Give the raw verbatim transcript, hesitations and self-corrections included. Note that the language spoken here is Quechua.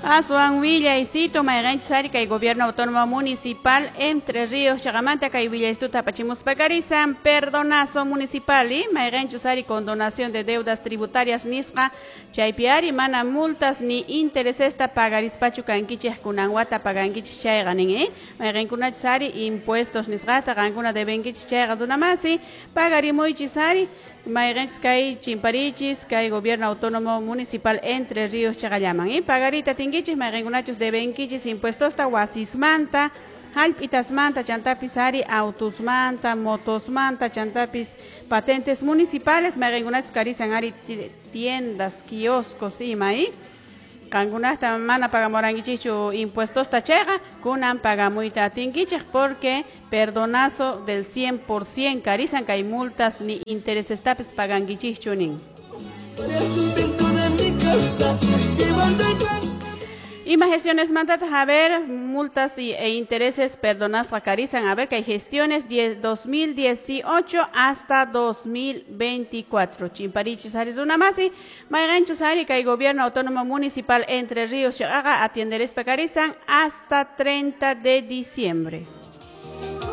Aswan willaycito mayqanchus ari kay Gobierno Autónomo Municipal Entre Ríos chaqamanta kay willaystuta apachimuspa karisan perdonazo municipal mayqanchus ari condonación de deudas tributarias nisqa chaypi ari mana multas ni interesesta pagarispachu kankichik kunan wata pagankichik chayqa nin eh mayqankunachus ari impuestos nisqata qankuna debenkichik chayqa runamasi pagarimuychis ari mayqanchus kay chimparichis kay Gobierno Autónomo Municipal Entre Ríos chaqallaman eh pagarita tinkichis mayqankunachus debenkichis impuestosta wasismanta hallp'itasmanta chantapis ari autusmanta motosmanta chantapis patentes municipales mayqankunachus karisan ari tiendas kioscos ima eh qankunata mana pagamurankichikchu impuestosta chayqa kunan pagamuyta atinkichik porque perdonazo del cien por cien karisan kay multas ni interesestapis pagankichikchu nin. Ima gestiones mandatas a ver, multas y, e intereses perdonasqa karisan, a ver que hay gestiones dos mil dieciocho hasta dos mil veinticuatro. Chimparichis ari runamasi, mayqanchus ari kay Gobierno Autónomo Municipal Entre Ríos chaqaqa atienderespa karisan hasta treinta de diciembre.